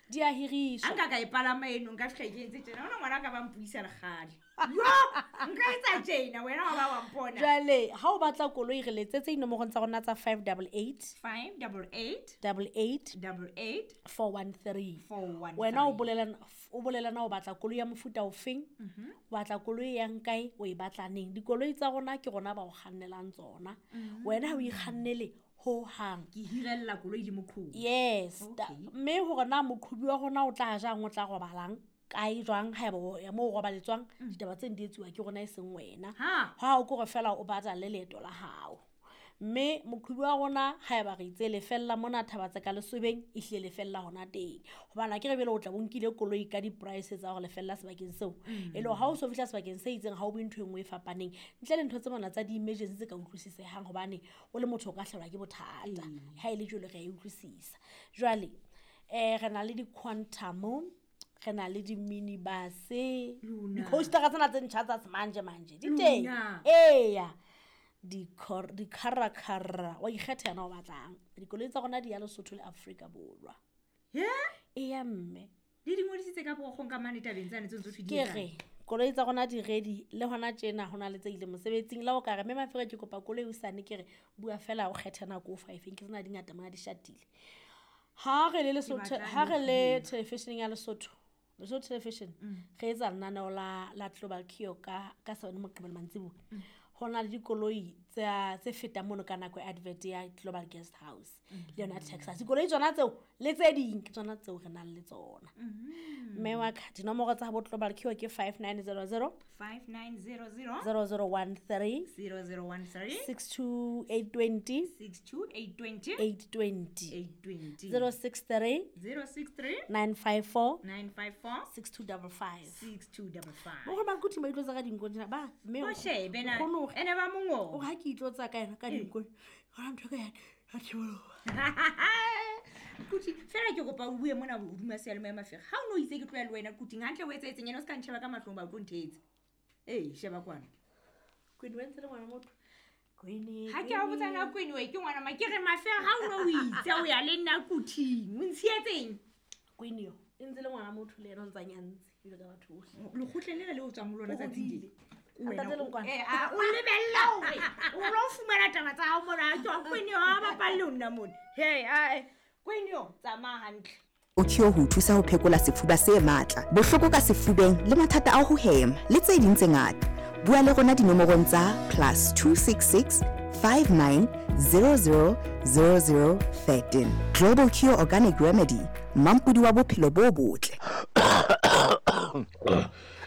Di a hiriswa. A nka ka e palama eno, nka fitlha ke entse tjena. Ona ngwana ka ba mpuisa lekgale. Yo, nka etsa tjena wena wa ba wa mpona. Jwale ha o batla koloi re letsetse dinomorong tsa rona tsa 588 588 88 88 413. 413. Wena o bolela na o batla koloi ya mofuta ofeng, o batla koloi e yang kae, o e batla neng. Dikoloi tsa rona ke rona ba o kgannelang tsona. Wena ha o ikgannele ho hang. Ke hirella koloi le moqhobi. Yes. Mme hore na moqhobi wa rona o tla jang, o tla robalang kae jwang, haeba o ya moo o robaletswang, ditaba tseno di etsuwa ke rona e seng wena. Ha o kore fela o batalle leeto la hao. Mme moqhobi wa rona haeba re itse lefella mona Thabatse ka Lesobeng, e hlile lefella hona teng. Hobane akere jwale o tla bo nkile koloi ka di-price tsa hore lefella sebakeng seo. E le hore ha o so fihla sebakeng se itseng ha o bue ntho e nngwe e fapaneng. Ntle le ntho tse mona tsa di-emergency tse ka utlwisisehang hobane o le motho o ka hlahelwa ke bothata. Ha e le jwalo re a e utlwisisa. Jwale re na le di-quantum, re na le di-minibus, di-coastera tsena tse ntjha tsa semanje manje di teng. Eya. Di-caracara, wa ikgetha yena o batlang. Dikoloi tsa rona di ya Lesotho le Afrika Borwa. Eya mme. Le di ngodisitse ka porokgong ka mane tabeng tsane tse ntse di Ke re koloi tsa rona di ready le hona tjena hona le tse ileng mosebetsing. Le ha o ka re mme Mafero ke kopa koloi hosane, ke re bua fela o kgethe nako o fa efeng, ke tsena di ngata mona di shatile. Ha re le Lesotho, ha re le television ya Lesotho, Lesotho Television, re etsa lenaneo la Global Cure ka 7 Moqebelo mantsibuya. Ho na le dikoloi tse fetang mono ka nako ya advert ya Global Guest House le yona Texas. Dikoloi tsona tseo le tse ding ke tsona tseo re nang le tsona. Mme wa ka dinomoro tsa bo Global Cure ke 5900 5900 0013 0013 62820 62820 820 820 063 063 954 954 6255. 6255. Bo ba nkuthi ba itlotsa ka dinko tjena ba mme O shebe na nkgono o re ene ba mongo. O ha ke itlotsa ka yena ka dinko. Hona ntho ka ya thiboloha. Kuthi fela ke kopa o bue mona hodima seyalemoya Mafero. Ha o no itse ke tloya le wena Kuting, hantle o etsahetseng yena o ska ntjheba ka mahlong ba o tlo nthetse. Ee, sheba kwana. Queen o entse le ngwana motho. Queen. Ha ke a botsa na Queen we ke ngwana ma ke re Mafero ha o no o itse o ya le nna Kuting, o ntshietseng. Queen yo e ntse le ngwana motho le yena o ntsa nyantse jwalo ka batho bohle. Lekgotleng lena le o tswang ho lona O tsatsing hodile. le. Wena Ntate Lenkwana. O lebella hore o lo fumana taba tsa hao mona, ke wa Queen yo ha bapalle ho nna mona. Hey, ae, Queen yo tsamaya hantle. O cure ho thusa ho phekola sefuba se matla, bohloko ka sefubeng le mathata a ho hema le tse ding tse ngata. Bua le rona dinomorong tsa +266 59 00 00 13. Global Cure Organic Remedy, mampodi wa bophelo bo botle.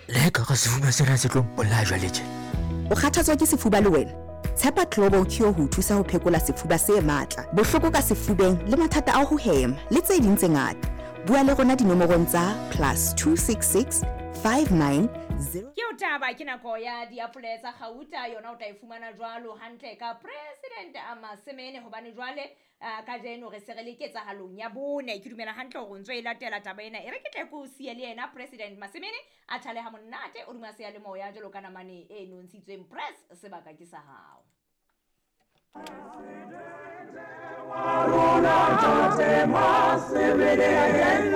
Le ka re sefuba sena se tlo mpolaya jwale tje. O kgathatswa ke sefuba le wena? Tshepa Global Cure ho thusa ho phekola sefuba se matla, bohloko ka sefubeng le mathata a ho hema le tse ding tse ngata. Bua le rona dinomorong tsa +266 59 0. Ke o taba ke nako ya diapole tsa kgauta, yona o tla e fumana jwalo hantle ka President a Masemene, hobane jwale kajeno re se re le ketsahalong ya bone. Ke dumela hantle hore o ntso e latela taba ena. E re ke tle ke o siye le yena President Masemene a thale ha monate o duma seyalemoya jwalo ka namane e nontshitsweng. Press, sebaka ke sa hao. Wa rona Tate Masemene.